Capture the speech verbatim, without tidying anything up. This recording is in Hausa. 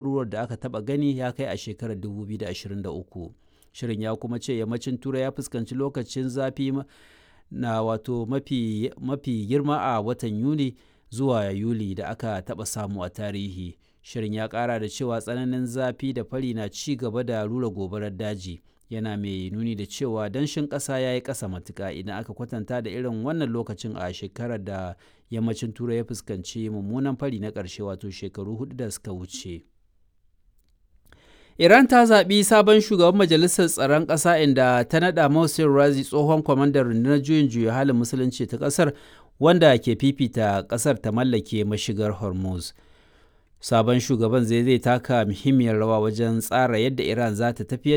Ruwar da aka taɓa gani ya kai a shekarar dubu biyu da ashirin da uku. Shirin ya kuma ce yammacin Turai ya fuskanci lokacin zafi na wato mafi, mafi girma a watan Yuni zuwa Yuli da aka taɓa samu a tarihi. Shirin ya ƙara da cewa tsananin zafi da fari na ci gaba da rura gobarar daji, yana mai nuni da cewa danshin ƙasa ya yi ƙasa matuƙa idan aka kwatanta da irin wannan lokacin a shekarar da yammacin Turai ya fuskanci mummunan fari na ƙarshe, wato shekaru hudu da suka wuce. Iran ta zaɓi sabon shugaban Majalisar Tsaron Ƙasa, inda ta naɗa Mohsen Razi, tsohon kwamandan rundunar juyin juya halin musulunci ta ƙasar, wanda ke fifita ƙasar ta mallake mashigar Hormuz. Sabon shugaban zai zai taka muhimmiyar rawa wajen tsara yadda Iran za ta tafiyar